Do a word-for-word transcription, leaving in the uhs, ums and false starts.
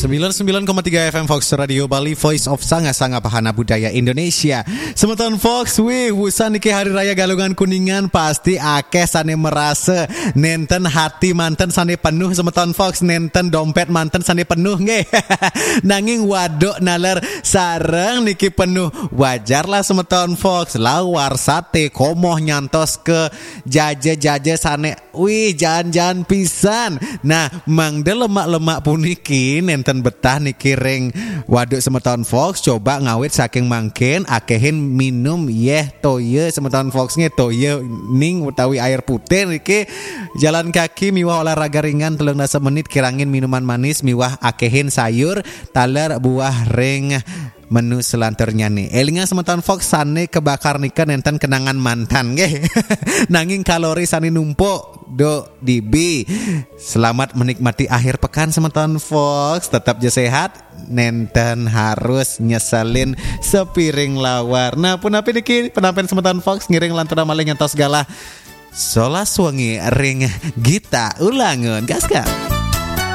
Sembilan sembilan koma tiga F M Fox Radio Bali, Voice of Sanga-Sanga Bahana Budaya Indonesia. Semeton Fox, wih, wusan niki Hari Raya Galungan Kuningan, pasti akeh sane merasa nenten hati manten sane penuh, semeton Fox, nenten dompet manten sane penuh nggih. Nanging waduk naler sareng niki penuh. Wajar lah semeton Fox, lawar, sate, komoh nyantos ke jaja-jaja sane, wih, jan-jan pisan. Nah, mangda lemak-lemak puniki nenten betah niki ring waduk semeton Fox, coba ngawit saking mangkin, akehin minum yeh toya semeton Fox nggih, toya ning utawi air putih niki. Jalan kaki miwah olahraga ringan telung dasa menit, kirangin minuman manis miwah akehin sayur, taler, buah ring menu selanturnya nih. Elingan semeton Fox, sane kebakar nika nenten kenangan mantan nggih. Nanging kalori sane numpuk, duk dibi. Selamat menikmati akhir pekan semeton Fox, tetap je sehat. Nenten harus nyeselin sepiring lawar. Nah, punapi niki penampilan semeton Fox, ngiring lanturna malih ngantos galah solas wengi ring Gita Ulangun. Gas, Kak.